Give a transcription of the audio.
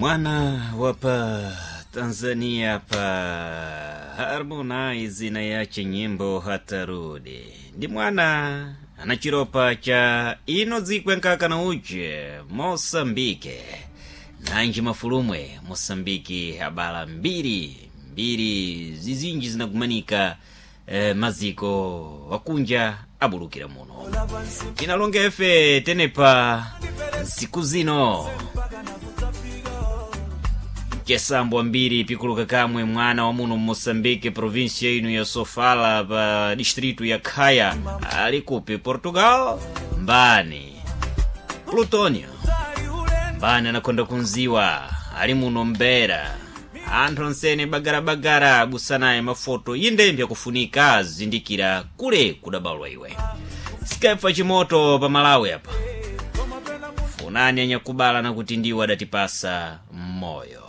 Mwana wapa Tanzania pa Harmonize na yache nyimbo hatarudi ndi mwana ana chiropa cha ino dzikwe nkaka na uche Mosambike nanji mafulumwe Mosambiki abala mbiri mbiri zizinji zinagumanika maziko wakunja abulukira muno inalonga efe tenepa nsiku zino chesambwa mbiri pikuluka kamwe mwana wa muno mmoçambique província ino ya sofala pa distrito ya khaya ali kupi portugal mbani plutonio mbani anakonda kunziwa ali muno mbera anthu onsene bagarabagara abusanaye mafoto yindembya kufunika azindikira kule kudabalwa iwe sikefa chimoto pa malawi apa funani anyakubala nakuti ndiwo adatipasa moyo.